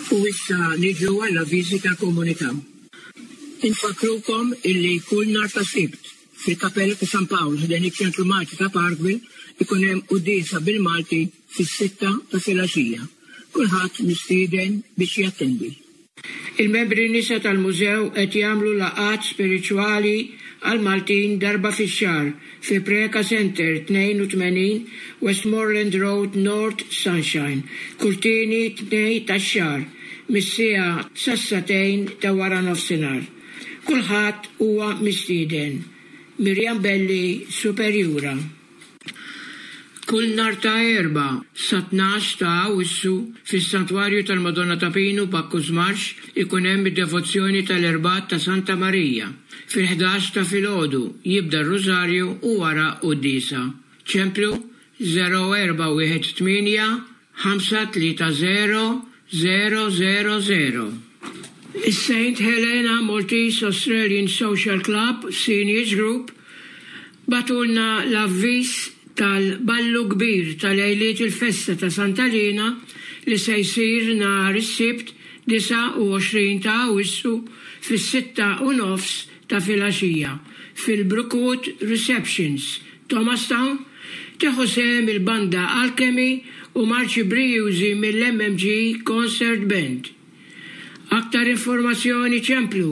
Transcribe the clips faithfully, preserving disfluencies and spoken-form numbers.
U issa niġu għall-avviżi tal-komunità. Infakkrukom illi kull nhar ta' Sibt fil-Kapella ta' San Pawl ħdejn iċ-Ċentru Malti ta' Parkville ikun hemm quddiesa bil-Malti fis-sitta ta' filgħaxija. Kulħadd mistieden biex jattendi. Il-membri nisa tal-mużew qed jagħmlu laqgħat spiritwali għal Maltin darba fix-xahar fi Preca Center tnejn u tmenin Westmoreland Road, North Sunshine, kull tieni Tnejn tax-xahar mis-siegħa sas-sagħtejn ta' wara nofsinhar. Kulħadd huwa mistieden. Mirjam Belli, Superjura. Kull nhar ta' Erbgħa sa tnax ta' Awwissu fis-Santwarju tal-Madonna ta' Pinu, Bacchus Marsh, ikun hemm id-devozzjoni tal-Erbgħat ta' Santa Marija. Fil-ħdax ta' filgħodu jibda r-Rużarju u wara quddiesa. Ċemplu żero erba' wieħed tmienja ħamsa tlieta żero żero żero żero. Is-Saint Helena Maltese Australian Social Club Seniors Group bagħtulna l-avviż tal-ballu kbir tal-lejliet il-festa ta' Santa Lina li se jsir nhar is-Sibt disgħa u għoxrin ta' Awwissu fis-sitta u nofs ta' filgħaxija fil-Brookwood Receptions, Thomastown. Tieħu sehem il-banda Alchemy u marċi brijużi mill-M M G Concert Band. Aktar informazzjoni ċemplu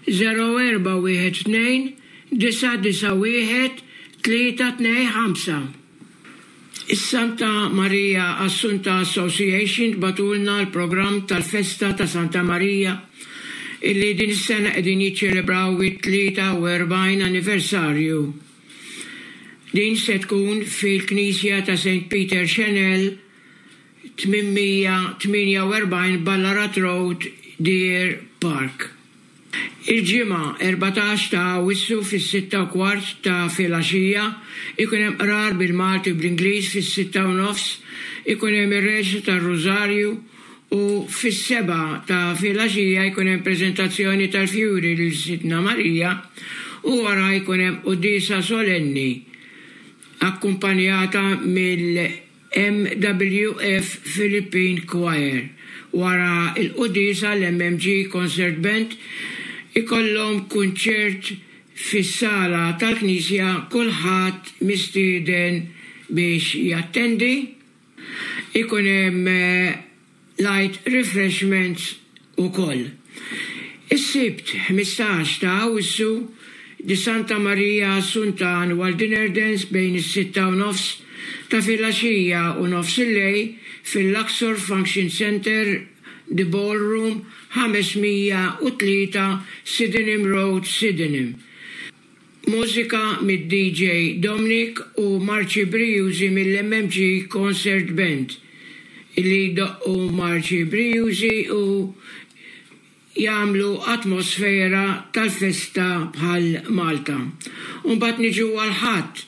żero erba' wieħed tnejn disgħa disgħa wieħed tlieta tnejn ħamsa. Is-Santa Maria Assunta Association bagħtulna l-programm tal-festa ta' Santa Maria illi din is-sena qegħdin jiċċelebraw it-tlieta u erbgħin anniversarju. Din se tkun fil-Knisja ta' Saint Peter Chanel, tmienmija tmienja u erbgħin Ballarat Road, Deer Park. Il-Ġimgħa erbatax ta' Awwissu fis-sitta u kwart ta' filgħaxija ikun hemm qrar bil-Malti u bl-Ingliż. Fis-sitta u nofs ikun hemm ir-reċta tar-Rużarju u fis-sebgħa ta' filgħaxija jkun hemm preżentazzjoni tal-fjuri lil Sidna Marija u wara jkun hemm quddiesa solenni akkumpanjata mill-M W F Philippine Choir. Wara il-quddiesa l-M M G Concert Band ikollhom kunċert fis-sala tal-Knisja, kulħadd mistieden biex jattendi. Ikun hemm eh, light refreshments ukoll. Is-Sibt ħmistax ta' Awwissu di Santa Maria Assunta Annual Dinner Dance bejn is-sitta u nofs ta' filgħaxija u nofs il-lejl fil-Luxor Function Center, The Ballroom, ħames mija u tlieta Sydenham Road, Sydenham. Mużika mid-D J Dominic u marċi brijużi mill-M M G Concert Band illi jdoqqu marċi brijużi u jagħmlu atmosfera tal-festa bħal Malta. Umbagħad niġu għall-Ħadd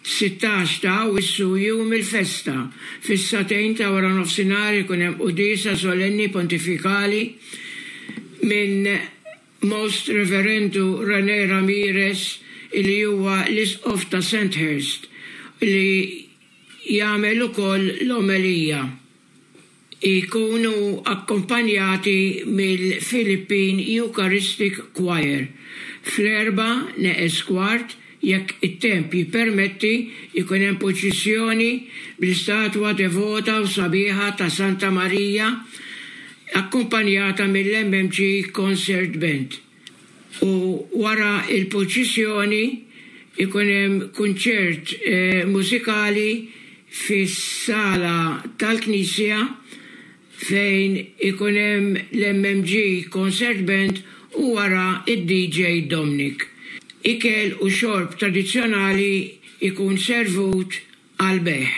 sittax ta' Awwissu, jum il-festa. Fis-sagħtejn ta' wara nofsinhar ikun hemm quddiesa solenni pontifikali minn Most Reverendu Rene Ramirez li huwa l-isqof ta' Sandhurst li jagħmel ukoll l-omelija. Ikunu akkompanjati mill-Philippine Eucharistic Choir. Fl-erbgħa neqes kwart, jekk it-temp jippermetti, ikun hemm purċissjoni bl-istatwa devota u sabiħa ta' Santa Maria akkumpanjata mill-M M G Concert Band. U wara il-purċissjoni ikun hemm kunċert eh, mużikali fis-sala tal-Knisja fejn ikun hemm l-M M G Concert Band u wara id-D J Dominic. Ikel u xorb tradizzjonali ikun servut għal bejgħ.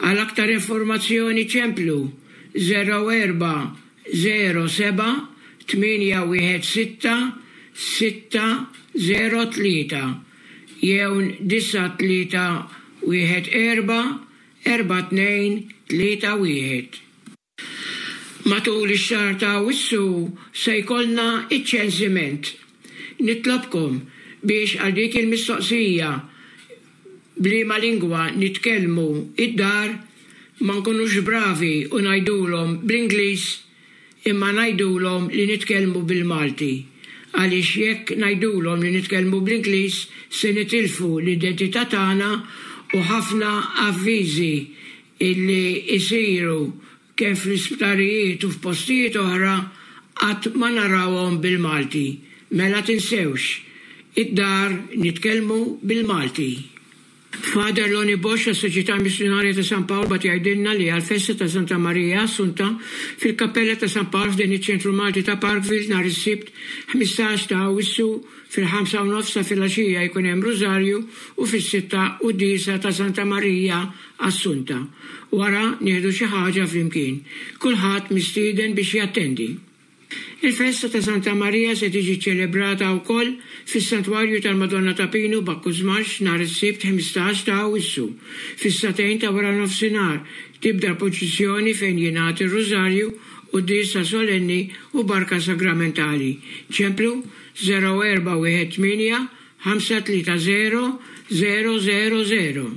Għal aktar informazzjoni ċemplu żero erba' żero seba' tmienja wieħed sitta sitta żero tlieta jew disgħa tlieta wieħed erba' erba' tnejn tlieta wieħed. Matul ix-xahar ta' Awwissu se jkollna iċ-ċensiment. Nitlobkom biex għal dik il-mistoqsija b'liema lingwa nitkellmu id-dar ma nkunux bravi u ngħidulhom bl-Ingliż. Imma ngħidulhom li nitkellmu bil-Malti. Għaliex jekk ngħidulhom li nitkellmu bl-Ingliż se nitilfu l-identità tagħna u ħafna avviżi illi isiru kemm fl-isptarijiet u f'postijiet oħra qatt ma narawhom bil-Malti. Mela tinsewx, id-dar nitkellmu bil-Malti. Father Loni Bosch, tas-Soċjetà Missjunarja ta' San Pawl bagħat jgħidilna li għall-festa ta' Santa Marija Assunta fil-Kappella ta' San Pawl f'din iċ-Ċentru Malti ta' Parkville nhar is-Sibt ħmistax ta' Awwissu fil-ħamsa u nofs ta' filgħaxija jkun hemm Rużarju u fis-sitta quddiesa ta' Santa Marija Assunta. Wara nieħdu xi ħaġa flimkien. Kulħadd mistieden biex jattendi. Il-festa ta' Santa Marija se tiġi ċċelebrata wkoll fis-Santwarju tal-Madonna ta' Pinu Bacchus Marsh nhar is-Sibt ħmistax ta' Awwissu. Fis-sagħtejn ta' waranofsinhar tibda l-purċissjoni fejn jingħad ir-Rużarju, quddiesa solenni u barka sagramentali. Ċemplu żero erba' wieħed tmienja ħamsa tlieta żero żero żero żero.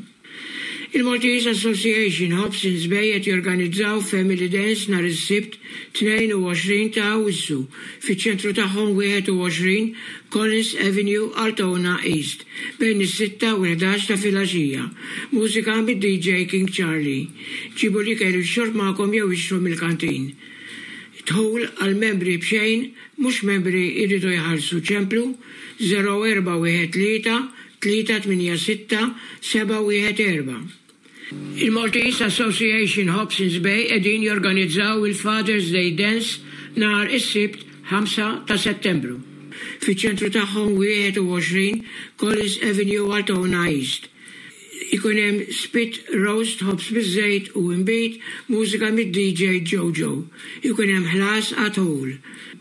Il-Maltese Association Hobsons Bay qed jorganizzaw Family Dance nhar is-Sibt tnejn u għoxrin ta' Awwissu fiċ-ċentru tagħhom wieħed u għoxrin Collins Avenue, Altona East, bejn is-sitta u l-ħdax ta' filgħaxija. Mużika mid-D J King Charlie. Ġibu l-ikel u x-xorb magħkom jew ixtru mill-kantin. Dħul għal membri b'xejn, mhux membri jridu jħallsu. Ċemplu żero erba' wieħed tlieta tlieta tmienja sitta seba' wieħed erba'. Il-Maltese Association Hobsons Bay qegħdin jorganizzaw il-Father's Day Dance nhar is-Sibt ħamsa ta' Settembru. Fiċ-ċentru tagħhom wieħed u għoxrin Collins Avenue, Altona East. Ikun hemm spit roast, ħobż biż-żejt u inbid, mużika mid-D J Jojo. Ikun hemm ħlas għat-ħul.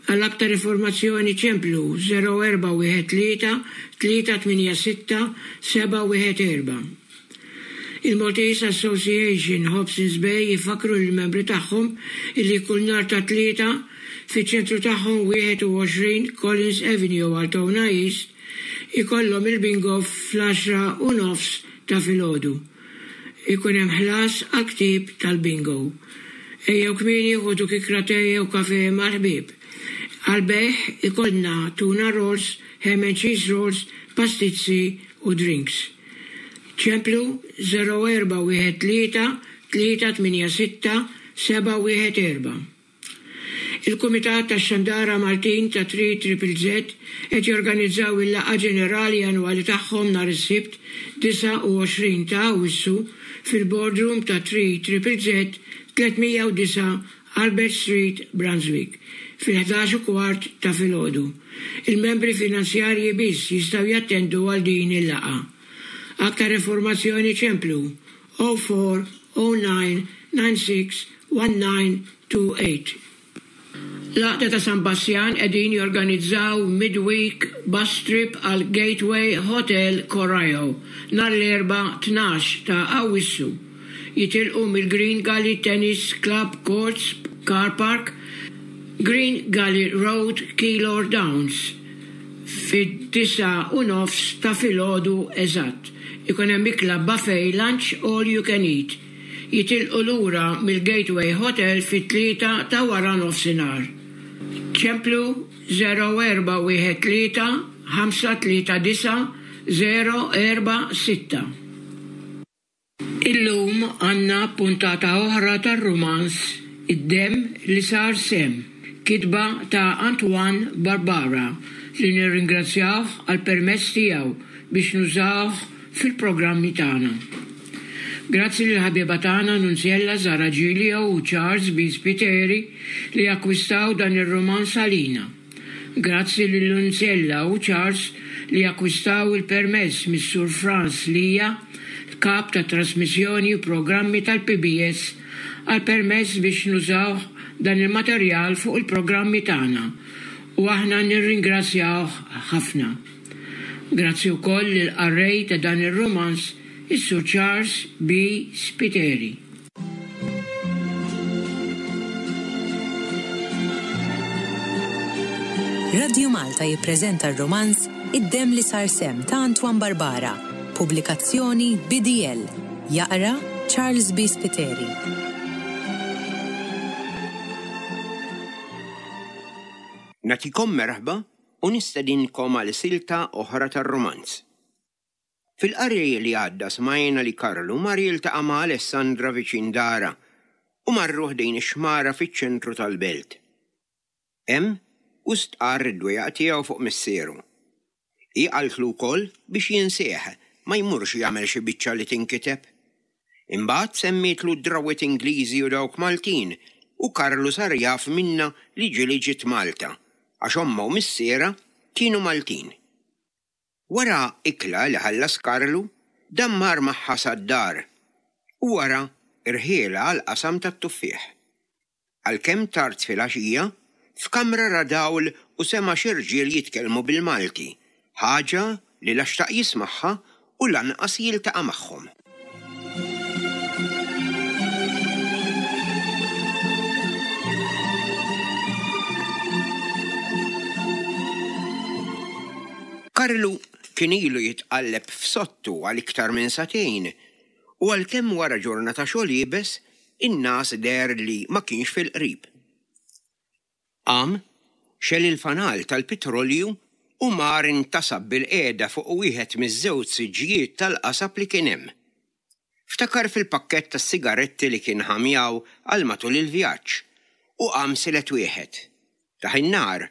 Għal aktar informazzjoni ċemplu żero erba' wieħed tlieta tlieta tmienja sitta seba' wieħed erba'. Il-Maltese Association Hobsons Bay jifakru lill-membri tagħhom illi kull nhar ta' tlieta fiċ-ċentru tagħhom wieħed u għoxrin Collins Avenue, Altona East, ikollhom il-bingo fl-għaxra u nofs ta' filgħodu. Ikun hemm ħlas għal ktieb tal-bingo. Ejjew kmieni ħudu kikra te jew kafe mal-ħbieb. Għal-bejgħ ikollna tuna rolls, ham and cheese rolls, pastizzi u drinks. Ċemplu żero erba' wieħed tlieta tlieta tmienja sitta seba' wieħed erba'. Il-Kumitat tax-Xandara Maltin ta' Three Triple Z qed jorganizzaw il-laqgħa ġenerali annwali tagħhom nhar is-Sibt disa' u għoxrin ta' Awwissu fil-boardroom ta' Three Triple Z tliet mija u disa' Albert Street, Brunswick, fil-ħdax u kwart ta' filgħodu. Il-membri finanzjarji biss jistgħu jattendu għal din il-laqgħa. Aktar informazzjoni ċemplu oh four oh nine nine six one nine two eight. L-Għaqda ta' San Bassjan qegħdin jorganizzaw midweek bus trip għal Gateway Hotel Corio nhar l-Erbgħa tnax ta' Awwissu. Jitilqu mill-Green Gully Tennis Club Courts Car Park, Green Gully Road, Keilor Downs, fid-disa' u nofs ta' filgħodu eżatt. Ikun hemm ikla buffet lunch all you can eat. Jitilqu lura mill-Gateway Hotel fit-tlieta ta' wara nofsinhar. Ċemplu żero erba' wieħed tlieta ħamsa tlieta disa' żero erba' sitta. Illum għandna puntata oħra tar-rumanz Id-Demm li sar Semm, kitba ta' Antoine Barbara li nirringrazzjawh għall-permess tiegħu biex nużawh fil-programmi tagħna. Grazzi lil ħabiba tagħna Nunziella Zara Giglio u Charles B. Spiteri li akkwistaw dan ir-rumanz għalina. Grazzi lil Nunziella u Charles li akkwistaw il-permess mis-Sur Franz Lija, kap ta' trasmissjoni u programmi tal-P B S, għal permess biex nużaw dan il-materjal fuq il-programmi tagħna u aħna nirringrazzjawh ħafna. Grazzi wkoll lil qarrej ta' dan ir-rumanz, is-Sur Charles B. Spiteri. Radio Malta jippreżenta r-romanz Id-Demm li sar Semm ta' Antoine Barbara, pubblikazzjoni B D L. Jaqra Charles B. Spiteri. Nagħtikom merħba u nistedinkom għal silta oħra tar-rumanz. Fil-qari li għadda smajna li Karlu mar jiltaqa' ma' Alessandra viċin dara u marru ħdejn ix-xmara fiċ-ċentru tal-belt. Hemm u stqarr id-dwejjaq tiegħu fuq missieru. Hi qaltlu wkoll biex jinsieħ ma jmurx jagħmel xi biċċa li tinkiteb. Imbagħad semmietlu d-drawwiet Ingliżi u dawk Maltin u Karlu sar jaf minnha li ġieli ġiet Malta għax ommha u missierha kienu Maltin. Wara ikla li ħallas Karlu, dan mar magħha sad-dar u wara rħielha għall-qasam tat-tuffieħ. Għalkemm tard filgħaxija, f'kamra ra dawl u sema' xi rġiel jitkellmu bil-Malti, ħaġa li la xtaq jismagħha u lanqas jiltaqa' magħhom. Karlu kien ilu jitqalleb f'sottu għal iktar minn sagħtejn u għalkemm wara ġurnata xogħol iebes, in-ngħas deher li ma kienx fil-qrib. Qam, xegħel il-fanal tal-pitrolju u mar intasab bilqiegħda fuq wieħed miż-żewġ siġġijiet tal-qasab li kien hemm. Ftakar fil-pakkett tas-sigaretti li kien ħa miegħu għal matul il-vjaġġ u qam silet wieħed. Tah in-nar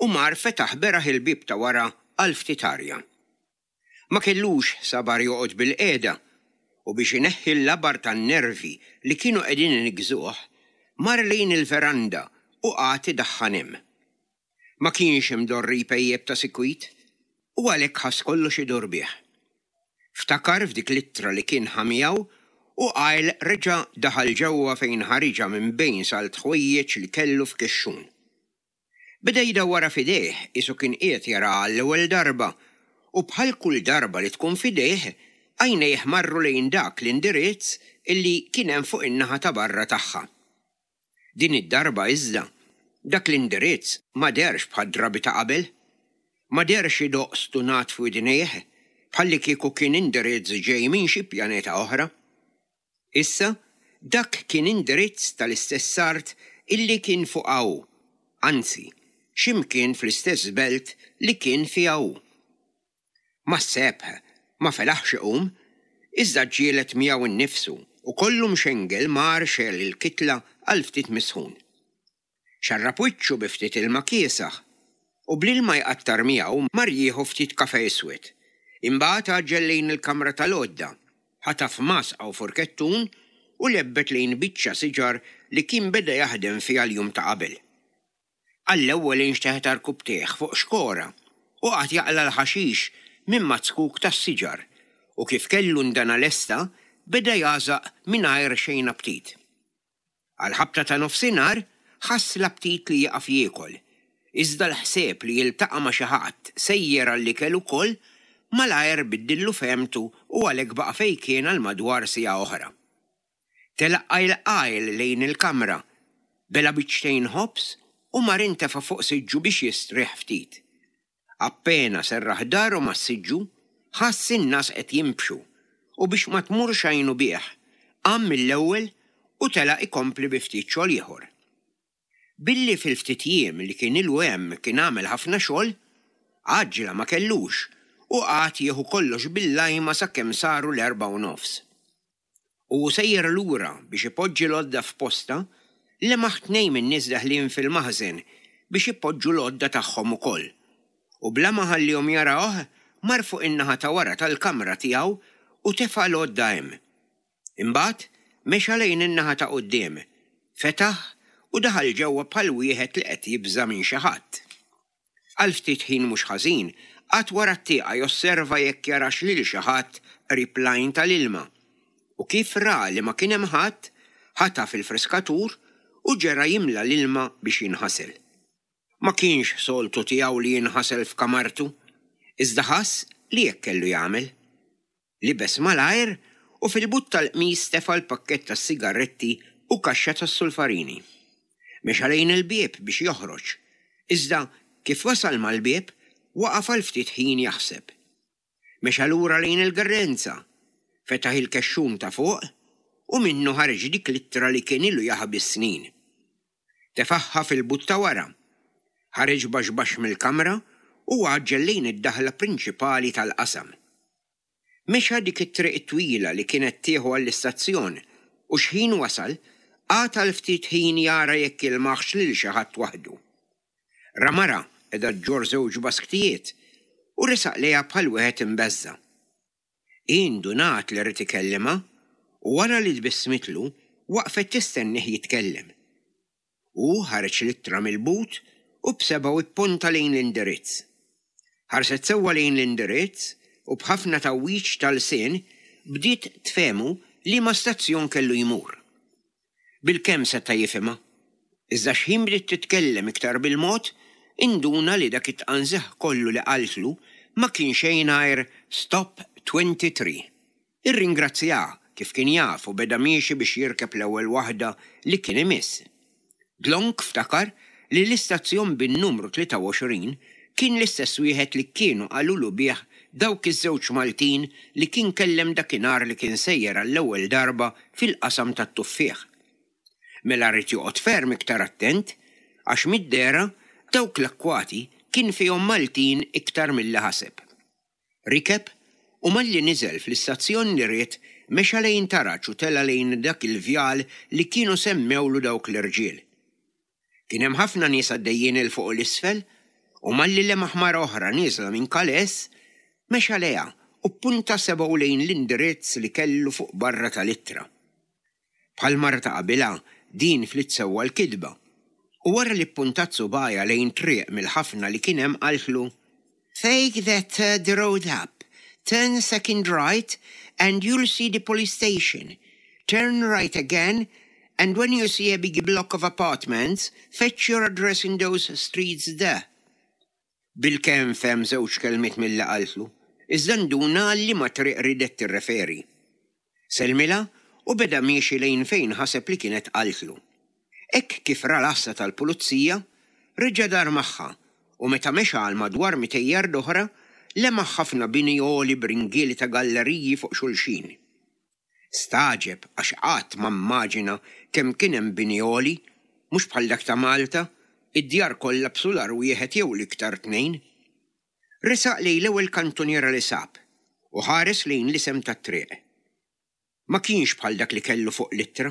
u mar fetaħ beraħ il-bieb ta' wara għal ftit arja. Ma kellux sabar joqgħod bilqiegħda u biex ineħħi l-labar tan-nervi li kienu qegħdin iniggżuh, mar lejn il-veranda u qagħad idaħħan hemm. Ma kienx imdorri jpejjep ta' sikwit u għalhekk ħass kollox idur bih. Ftakar f'dik l-ittra li kien ħa miegħu u qajl reġa' daħal ġewwa fejn ħariġha minn bejn salt ħwejjeġ li kellu f'kexxun. Beda jdawwarha f'idejh qisu kien qiegħed jaraha għall-ewwel darba u bħal kull darba li tkun f'idejh, għajnejh marru lejn dak l-indirizz illi kien hemm fuq in-naħa ta' barra tagħha. Din id-darba iżda, dak l-indirizz ma dehrx bħad-drabi ta' qabel. Ma dehrx idoqq stunat f'widnejh, bħallikieku kien indirizz ġej minn xi pjaneta oħra. Issa, dak kien indirizz tal-istess art illi kien fuqha hu, anzi, xi mkien fl-istess belt li kien fiha hu. Mas-sebħ ma felaħx iqum, iżda ġġieled miegħu nnifsu u kollu mxengel mar xegħel il-kitla għal ftit misħun. Xarrab wiċċu bi ftit ilma kiesaħ u bl-ilma jqattar miegħu mar jieħu ftit kafè iswed. Imbagħad għaġġel lejn il-kamra tal-għodda, ħataf masqa u furkettun u lebbet lejn biċċa siġar li kien beda jaħdem fiha l-jum ta' qabel. Għall-ewwel inxteħet għarkupptejh fuq xkora u qagħad jaqla' l-ħaxix minn maz-zkuk tas-siġar u kif kellu ndana lesta beda jagħżaq mingħajr xejn aptit. Għall-ħabta ta' nofsinhar ħass l-aptit li jieqaf jiekol, iżda l-ħsieb li jiltaqa' ma' xi ħadd sejjer għall-ikel ukoll malajr biddillu fehmtu u għalhekk baqa' fejn kien għal madwar siegħa oħra. Telaq qajl qajl lejn il-kamra, bela' biċċtejn ħobż u mar intefa' fuq siġġu biex jistrieħ ftit. Appena serraħ daru mas-siġġu, ħass in-ngħas qed jinbxu u biex ma tmurx għajnu bih, qam mill-ewwel u telaq ikompli bi ftit xogħol ieħor. Billi fil-ftit jiem li kien ilu hemm kien għamel ħafna xogħol, għaġġla ma kellux u qagħad jieħu kollox bil-lajma sakemm saru l-erbgħa u nofs. U hu sejjer lura biex ipoġġi l-għodda f'postha, lemaħ tnejn min-nies deħlin fil-maħżen biex ipoġġu l-għodda tagħhom ukoll. U bla ma ħallihom jarawh, mar fuq in-naħa ta' wara tal-kamra tiegħu u tefa' l-għodda hemm. Imbagħad mexa lejn in-naħa ta' quddiem, fetaħ u daħal ġewwa bħal wieħed li qed jibża' minn xi ħadd. Għal ftit ħin mhux ħażin, qagħad wara t-tieqa josserva jekk jarax lil xi ħadd qrib l-għajn tal-ilma. U kif ra li ma kien hemm ħadd, ħataf il-friskatur u ġera jimla l-ilma biex jinħasel. Ma kienx soltu tiegħu li jinħasel f'kamartu, iżda ħass li hekk kellu jagħmel. Libes malajr u fil-but tal-qmis tefa' l-pakkett tas-sigarretti u kaxxa tas-sulfarini. Mexa lejn il-bieb biex joħroġ, iżda kif wasal mal-bieb waqaf għal ftit ħin jaħseb. Mexa lura lejn il-gerrenza, fetaħ il-kexxun ta' fuq u minnu ħareġ dik l-ittra li kien ilu jaħbi s-snin. Tefagħha fil-but ta' wara. Ħareġ baxx baxx mill-kamra u għaġġel lejn id-daħla prinċipali tal-qasam. Mexa dik it-triq twila li kienet tieħu għall-istazzjon u xħin wasal, qagħad għal ftit ħin jara jekk jilmaħx lil xi ħadd waħdu. Ra mara qiegħda ġġorr żewġ basktijiet u resaq lejha bħal wieħed imbeżża'. Indunat li ried ikellimha u wara li tbissmitlu waqfet tistennih jitkellem. U ħareġ l-ittra mill-but u b'sebgħu ipponta lejn l-indirizz. Ħarset sewwa lejn l-indirizz u b'ħafna tgħawwiġ tal-lsien bdiet tfehmu liema stazzjon kellu jmur. Bilkemm seta' jifhimha. Iżda x'ħin bdiet titkellem iktar bil-mod, induna li dak it-tqanżih kollu li qaltlu ma kien xejn għajr Stop twenty-three. Irringrazzjaha kif kien jaf u beda miexi biex jirkeb l-ewwel waħda li kien imiss. Dlonk ftakar li l-istazzjon bin-numru tlieta u għoxrin kien l-istess wieħed li kienu qalulu bih dawk iż-żewġ Maltin li kien kellem dakinhar li kien sejjer għall-ewwel darba fil-qasam tat-tuffieħ. Mela ried joqgħod ferm iktar attent għax mid-dehra dawk l-akkwati kien fihom Maltin iktar milli ħaseb. Rikeb u malli niżel fl-istazzjon li ried, mexa lejn taraġ u tela lejn dak il-vjal li kienu semmewlu dawk l-irġiel. Kien hemm ħafna nies għaddejjin 'il fuq u 'l isfel u malli lemaħ mara oħra nieżla minn kaless, mexa lejha u punta sebgħu lejn l-indirizz li kellu fuq barra tal-ittra. Bħal mara ta' qabilha, din fliet sewwa l-kitba. U wara li puntat subgħajha lejn triq mill-ħafna li kien hemm, qaltlu: "Take that third road up, turn second right and you'll see the police station. Turn right again and when you see a big block of apartments, fetch your address in those streets there." Bilkemm fehem żewġ kelmiet milli qaltlu, iżda nduna liema triq riedet tirreferi. Sellmilha u beda miexi lejn fejn ħaseb li kienet qaltlu. Hekk kif ra l-għassa tal-pulizija, reġa' dar magħha u meta mexa għal madwar mitejn yard oħra, lemaħ ħafna bini għoli b'ringieli ta' galleriji fuq xulxin. Stagħġeb għax qatt ma immaġina kemm kien hemm bini għoli, mhux bħal dak ta' Malta, id-djar kollha b'sular wieħed jew l-iktar tnejn. Resaq lejn l-ewwel kantuniera li sab u ħares lejn l-isem tat-triq. Ma kienx bħal dak li kellu fuq l-ittra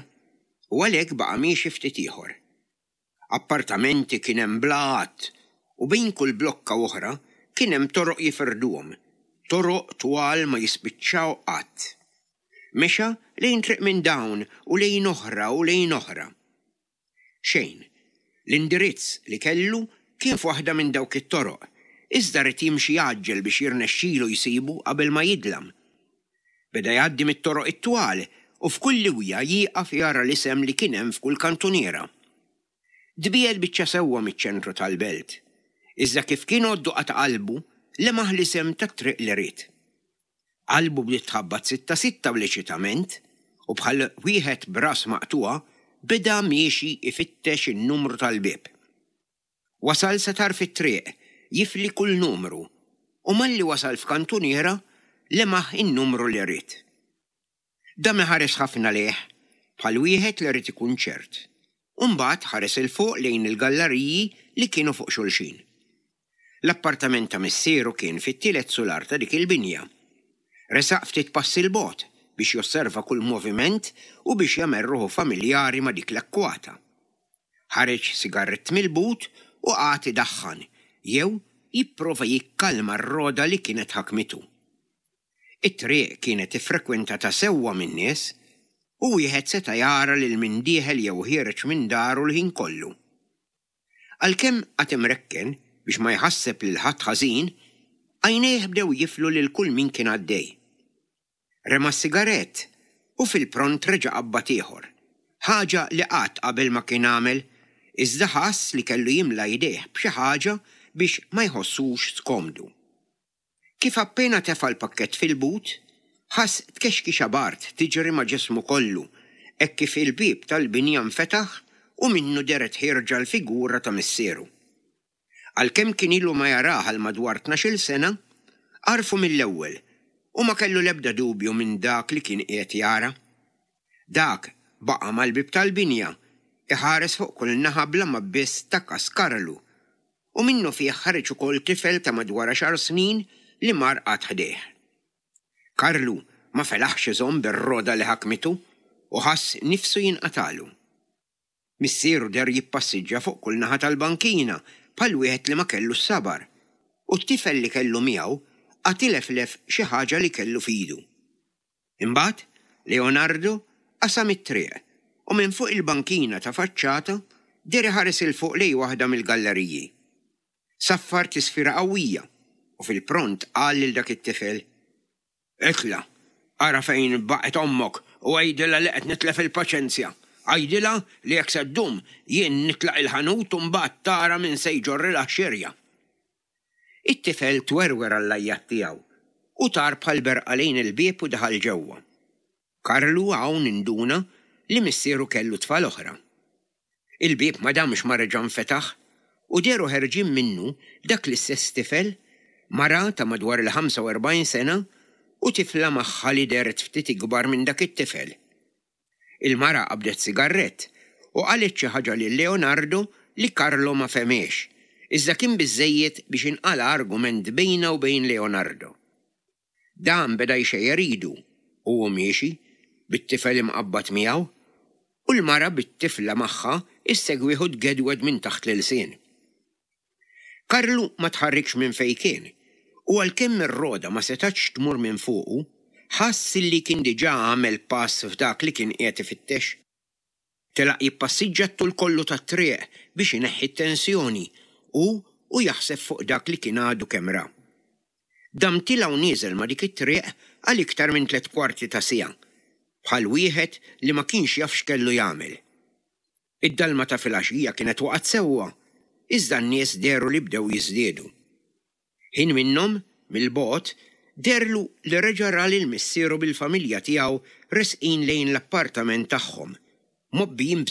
u għalhekk baqa' miexi ftit ieħor. Appartamenti kien hemm bla għadd u bejn kull blokka oħra kien hemm toroq jifirduhom, toroq twal ma jispiċċaw qatt. Mexa lejn triq minn dawn u lejn oħra u lejn oħra. Xejn, l-indirizz li kellu kien f'waħda minn dawk it-toroq, iżda ried jimxi jgħaġġel biex jirnexxilu jsibu qabel ma jidlam. Beda jgħaddi mit-toroq it-twal u f'kull liwja jieqaf jara l-isem li kien hemm f'kull kantuniera. Tbiegħed biċċa sewwa miċ-ċentru tal-belt. Iżda kif kien għoddu qata' qalbu, lemaħ l-isem tat-triq li ried. Qalbu bdiet tħabbat sitta sitta bl-eċitament u bħal wieħed b'ras maqtugħa beda miexi ifittex in-numru tal-bib. Wasal sa tarf it-triq, jifli kull numru, u malli wasal f'kantuniera lemaħ in-numru li ried. Dam iħares ħafna lejh, bħal wieħed li ried ikun ċert. U mbagħad ħares 'il fuq lejn il-galleriji li kienu fuq xulxin. L-appartament ta' missieru kien fit-tielet sular ta' dik il-binja. Resaq ftit passi 'l bogħod biex josserva kull moviment u biex jagħmel ruħu familjari ma' dik l-akkwata. Ħareġ sigarett mill-but u qagħad idaħħan, jew jipprova jikkalma r-roda li kienet ħakmitu. It-triq kienet iffrekwentata sewwa min-nies u wieħed seta' jara lil min dieħel jew ħiereġ minn daru l-ħin kollu. Għalkemm qagħad imrekken biex ma jħasseb lil ħadd ħażin, għajnejh bdew jiflu lil kull min kien għaddej. Rema sigarett u fil-pront reġa' qabbad ieħor. Ħaġa li qatt qabel ma kien għamel, iżda ħass li kellu jimla jdejh b'xi ħaġa biex ma jħossux skomdu. Kif appena tefa' l-pakkett fil-but, ħass tkexkixa bard tiġri ma' ġismu kollu, hekk kif il-bib tal-binja nfetaħ u minnu dehret ħierġa l-figura ta' missieru. Għalkemm kien ilu ma jarah għal madwar tnax-il sena, għarfu mill-ewwel u ma kellu l-ebda dubju minn dak li kien qiegħed jara. Dak baqa' mal-bib tal-binja, iħares fuq kull naħa bla ma biss ta kas Karlu, u minnufih ħareġ ukoll tifel ta' madwar għaxar snin li mar qagħad ħdejh. Karlu ma felaħx iżomm bir-rogħda li ħakmitu u ħass nifsu jinqatagħlu. Missieru deher jippassiġġa fuq kull naħa tal-bankina bħal wieħed li ma kellux sabar, u t-tifel li kellu miegħu qagħad ileflef xi ħaġa li kellu f'idu. Imbagħad Leonardo qasam it-triq u minn fuq il-bankina ta' faċċata deher iħares 'il fuq lejn waħda mill-galleriji. Saffar tisfira qawwija u fil-pront qal lil dak it-tifel, Itla', ara fejn baqgħet ommok u għidilha li qed nitlef il-paċenzja. Għidilha li jekk se ddum jien nitlaq il-ħanut u mbagħad tara min se jġorrilha x-xirja. It-tifel twerwer għall-għajjat tiegħu u tar bħal berqa lejn il-bieb u daħal ġewwa. Karlu hawn induna li missieru kellu tfal oħra. Il-bieb ma damx ma reġa' nfetaħ u dehru ħerġin minnu dak l-istess tifel, mara ta' madwar il-ħamsa u erbgħin sena u tifla magħha li dehret ftit ikbar minn dak it-tifel. Il-mara qabdet sigarrett u qalet xi ħaġa lil Leonardo li Carlo ma fehmiex, iżda kien biżżejjed biex inqala' argument bejnha u bejn Leonardo. Dan beda jxejjer idu u hu miexi, bit-tifel imqabbad miegħu, u l-mara bit-tifla magħha issegwih u tgedwed minn taħt l-ilsien. Karlu ma tħarrikx minn fejn kien, u għalkemm ir-rogħda ma setgħetx tmur minn fuqu, ħass li kien diġà għamel pass f'dak li kien qiegħed ifittex. Telaq jippassiġġa t-tul kollu tat-triq biex ineħħi t-tensjoni u u jaħseb fuq dak li kien għadu kemm ra. Dam tiela' u nieżel ma' dik it-triq għal iktar minn tliet kwarti ta' siegħa, bħal wieħed li ma kienx jaf x'kellu jagħmel. Id-dalma ta' filgħaxija kienet waqgħet sewwa, iżda n-nies dehru li bdew jiżdiedu. Ħin minnhom, mill-bogħod, deherlu li reġa' ra lil missieru bil-familja tiegħu resqin lejn l-appartament tagħhom, mgħobbijin